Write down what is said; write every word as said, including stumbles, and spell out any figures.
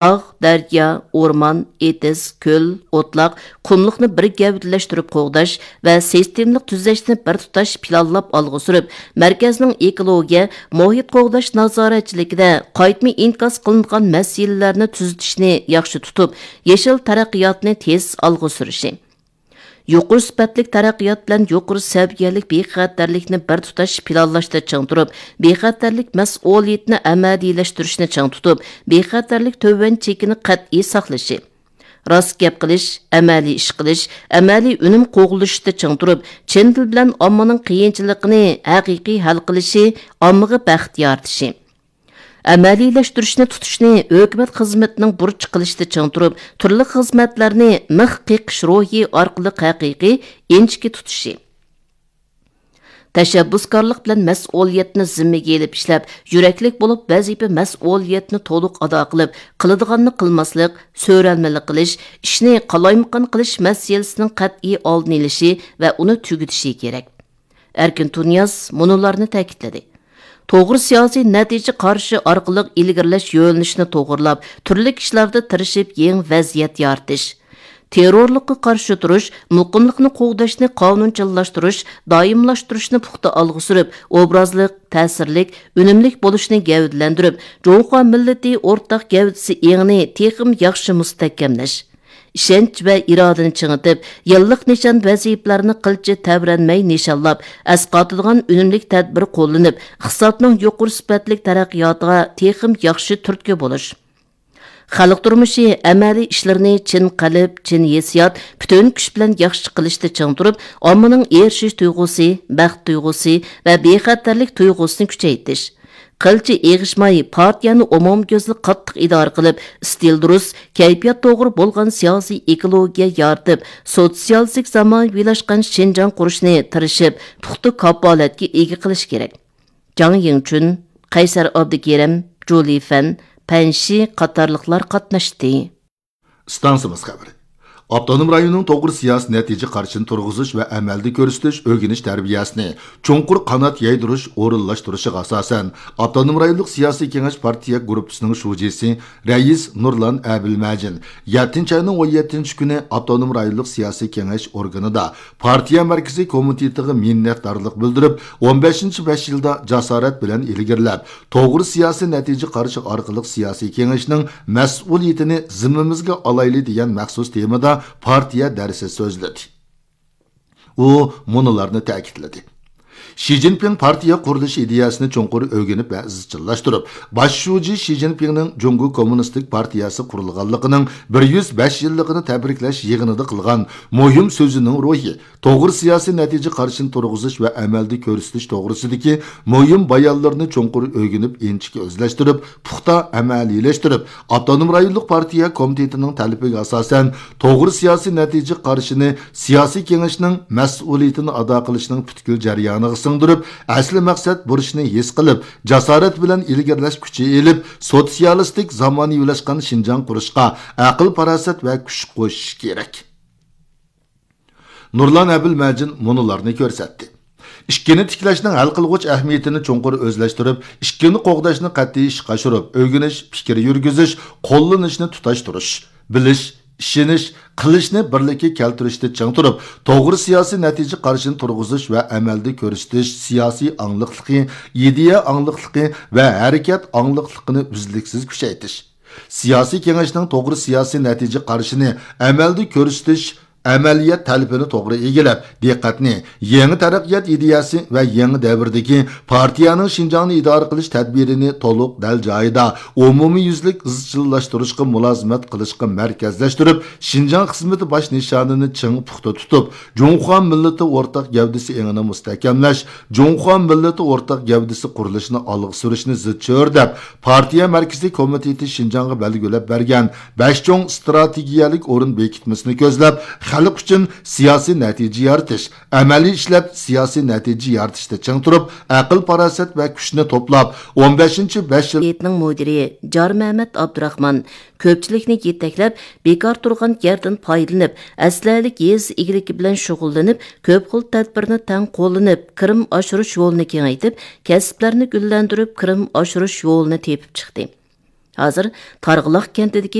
تاغ، دەريا، ئورمان، ئېتىز، كۆل، ئوتلاق، قۇملۇقنى بىر گەۋدىلەشتۈرۈپ قوغداش ۋە سىستېمىلىق تۈزەشنى بىر تۇتاش پىلانلاپ ئالغا سۈرۈپ، مەركەزنىڭ ئېكولوگىيە، مۇھىت قوغداش نازارەتچىلىكىدە قايتما ئىنكاس قىلىنغان مەسىلىلەرنى تۈزىتىشنى ياخشى تۇتۇپ، يېشىل تەرەققىياتنى تېز ئالغا سۈرۈشى. يۇقىرى سۈپەتلىك تەرەققىيات بىلەن يۇقىرى سەۋىيەلىك بىخەتەرلىكنى بىر تۇتاش پىلانلاشتا چىڭ تۇرۇپ، بىخەتەرلىك مەسئۇلىيىتىنى ئەمەلىيلەشتۈرۈشنى چىڭ تۇتۇپ، بىخەتەرلىك تۆۋەن چېكىنى قەتئىي ساقلىشى. راست گەپ قىلىش، ئەمەلىي ئىش قىلىش، ئەمەلىي ئۈنۈم قوغلىشىشتا چىڭ تۇرۇپ، چىن دىل بىلەن ئاممىنىڭ قىيىنچىلىقىنى ھەقىقىي ھەل قىلىشى، ئاممىغا بەخت يارىتىشى. ئەمەلىيلەشتۈرۈشنى تۇتۇشنى ھۆكۈمەت خىزمىتىنىڭ بۇرچى قىلىشتا چىڭ تۇرۇپ، تۈرلۈك خىزمەتلەرنى مىخ قېقىش روھى ئارقىلىق ھەقىقىي، ئىنچىكە تۇتۇشى. تەشەببۇسكارلىق بىلەن مەسئۇلىيەتنى زىممىگە ئېلىپ ئىشلەپ، يۈرەكلىك بولۇپ ۋەزىپە مەسئۇلىيەتنى تولۇق ئادا قىلىپ، قىلىدىغاننى قىلماسلىق، سۆرەلمىلىك قىلىش، ئىشنى قالايمىقان قىلىش مەسىلىسىنىڭ قەتئىي ئالدىنى ئېلىشى ۋە ئۇنى تۈگىتىشى كېرەك. ئەركىن تۇنىياز مۇنۇلارنى تەكىتلىدى: توغرا سىياسىي نەتىجە قارىشى ئارقىلىق ئىلگىرىلەش يۆنىلىشىنى توغرىلاپ، تۈرلۈك ئىشلاردا تىرىشىپ يېڭى ۋەزىيەت يارىتىش، تېررورلۇققا قارشى تۇرۇش، مۇقىملىقنى قوغداشنى قانۇنچىللاشتۇرۇش، دائىملاشتۇرۇشنى پۇختا ئالغا سۈرۈپ، ئوبرازلىق، تەسىرلىك، ئۈنۈملۈك بولۇشنى گەۋدىلەندۈرۈپ، جۇڭخۇا مىللىتى ئورتاق گەۋدىسى ئېڭىنى تېخىمۇ ياخشى مۇستەھكەملەش. ئىشەنچ ۋە ئىرادىنى چىڭىتىپ، يىللىق نىشان ۋەزىپىلەرنى قىلچە تەۋرەنمەي نىشانلاپ، ئەسقاتىدىغان ئۈنۈملۈك تەدبىر قوللىنىپ، ئىقتىسادنىڭ يۇقىرى سۈپەتلىك تەرەققىياتىغا تېخىمۇ ياخشى تۈرتكە بولۇش. خەلق تۇرمۇشى ئەمەلىي ئىشلىرىنى چىن قەلب، چىن ھېسسىيات، پۈتۈن كۈچ بىلەن ياخشى قىلىشتا چىڭ تۇرۇپ، ئاممىنىڭ ئېرىشىش تۇيغۇسى، بەخت تۇيغۇسى ۋە بىخەتەرلىك تۇيغۇسىنى كۈچەيتىش. قىلچە ئېغىشماي، پارتىيەنى ئومۇميۈزلۈك قاتتىق ئىدارە قىلىپ، ئىستىل دۇرۇس، كەيپىيات توغرا بولغان سىياسىي ئېكولوگىيە يارىتىپ، سوتسىيالىستىك زامانىۋىلاشقان شىنجاڭ قۇرۇشنى تىرىشىپ، پۇختا كاپالەتكە ئىگە قىلىش كېرەك. جاڭ يىڭچۈن، قەيسەر ئابدۇكېرىم، جۇلى فەن، پەن شى قاتارلىقلار قاتناشتى. ئىستانسىمىز خەۋىرى. ئاپتونوم رايوننىڭ توغرا سىياسىي نەتىجە قارىشىنى تۇرغۇزۇش ۋە ئەمەلدە كۆرسىتىش ئۆگىنىش تەربىيەسىنى چوڭقۇر قانات يايدۇرۇش ئورۇنلاشتۇرۇشىغا ئاساسەن، ئاپتونوم رايونلۇق سىياسىي كېڭەش پارتىيە گۇرۇپپىسىنىڭ شۇجىسى رەئىس نۇرلان ئەبىلمەجىن يەتتىنچى ئاينىڭ ئون يەتتىنچى كۈنى ئاپتونوم رايونلۇق سىياسىي كېڭەش ئورگىنىدا پارتىيە مەركىزىي كومىتېتىغا مىننەتدارلىق بىلدۈرۈپ، ئون بەشىنچى بەش يىلدا جاسارەت بىلەن ئىلگىرىلەپ، توغرا سىياسىي نەتىجە قارىشى ئارقىلىق سىياسىي كېڭەشنىڭ مەسئۇلىيىتىنى زىممىمىزگە ئالايلى دېگەن مەخسۇس تېمىدا پارتىيە دەرسى سۆزلىدى. ئۇ مۇنۇلارنى تەكىتلىدى: شى جىنپىڭ پارتىيە قۇرۇلۇشى ئىدىيەسىنى چوڭقۇر ئۆگىنىپ ۋە ئىزچىللاشتۇرۇپ، باش شۇجى شى جىنپىڭنىڭ جۇڭگو كوممۇنىستىك پارتىيەسى قۇرۇلغانلىقىنىڭ بىر يۈز بەش يىللىقىنى تەبرىكلەش يىغىنىدا قىلغان مۇھىم سۆزىنىڭ روھى، توغرا سىياسىي نەتىجە قارىشىنى تۇرغۇزۇش ۋە ئەمەلدە كۆرسىتىش توغرىسىدىكى مۇھىم بايانلىرىنى چوڭقۇر ئۆگىنىپ، ئىنچىكە ئۆزلەشتۈرۈپ، پۇختا ئەمەلىيلەشتۈرۈپ، ئاپتونوم رايونلۇق پارتىيە كومىتېتىنىڭ تەلىپىگە ئاساسەن، توغرا سىياسىي نەتىجە قارىشىنى سىياسىي كېڭەشنىڭ مەسئۇلىيىتىنى ئادا قىلىشنىڭ پۈتكۈل جەريانىغا سىڭدۈرۈپ، ئەسلى مەقسەت بۇرچىنى ھېس قىلىپ، جاسارەت بىلەن ئىلگىرىلەش كۈچى ئېلىپ، سوتسىيالىستىك زامانىۋىلاشقان شىنجاڭ قۇرۇشقا ئەقىل-پاراسەت ۋە كۈچ قوشۇشى كېرەك. نۇرلان ئەبىلمەجىن مۇنۇلارنى كۆرسەتتى: ئىككىنى تىكلەشنىڭ ھەل قىلغۇچ ئەھمىيىتىنى چوڭقۇر ئۆزلەشتۈرۈپ، ئىككىنى قوغداشنى قەتئىي ئىشقا ئاشۇرۇپ، ئۆگىنىش، پىكىر يۈرگۈزۈش، قوللىنىشنى تۇتاشتۇرۇش، بىلىش، ئىشىنىش، قىلىشنى بىرلىككە كەلتۈرۈشتە چىڭ تۇرۇپ، توغرا سىياسىي نەتىجە قارىشىنى تۇرغۇزۇش ۋە ئەمەلدە كۆرسىتىش سىياسىي ئاڭلىقلىقى، ئىدىيە ئاڭلىقلىقى ۋە ھەرىكەت ئاڭلىقلىقىنى ئۈزلۈكسىز كۈچەيتىش. سىياسىي كېڭەشنىڭ توغرا سىياسىي نەتىجە قارىشىنى ئەمەلدە كۆرسىتىش، ئەمەلىيەت تەلىپىنى توغرا ئىگىلەپ، دىققەتنى يېڭى تەرەققىيات ئىدىيەسى ۋە يېڭى دەۋردىكى پارتىيەنىڭ شىنجاڭنى ئىدارە قىلىش تەدبىرىنى تولۇق دەل جايىدا ئومۇميۈزلۈك ئىزچىللاشتۇرۇشقا مۇلازىمەت قىلىشقا مەركەزلەشتۈرۈپ، شىنجاڭ خىزمىتى باش نىشانىنى چىڭ پۇختا تۇتۇپ، جۇڭخۇا مىللىتى ئورتاق گەۋدىسى ئېڭىنى مۇستەھكەملەش، جۇڭخۇا مىللىتى ئورتاق گەۋدىسى قۇرۇلۇشىنى ئالغا سۈرۈشنى زىچ چۆرىدەپ، پارتىيە مەركىزىي كومىتېتى شىنجاڭغا بەلگىلەپ بەرگەن بەش چوڭ ئىستراتېگىيەلىك ئورۇن بېكىتمىسىنى كۆزلەپ، خەلق ئۈچۈن سىياسىي نەتىجە يارىتىش، ئەمەلىي ئىشلەپ سىياسىي نەتىجە يارىتىشتا چىڭ تۇرۇپ، ئەقىل-پاراسەت ۋە كۈچنى توپلاپ، ئون بەشىنچى بەش يىل ھەيئىتىنىڭ مۇدىرى جارمەمەت ئابدۇراخمان كۆپچىلىكنى يېتەكلەپ، بىكار تۇرغان يەردىن پايدىلىنىپ، ئەسلىھەلىك يېزا ئىگىلىكى بىلەن شۇغۇللىنىپ، كۆپ خىل تەدبىرنى تەڭ قوللىنىپ، كىرىم ئاشۇرۇش يولىنى كېڭەيتىپ، كەسىپلەرنى گۈللەندۈرۈپ، كىرىم ئاشۇرۇش يولىنى تېپىپ چىقتى. ھازىر تارغىلاق كەنتىدىكى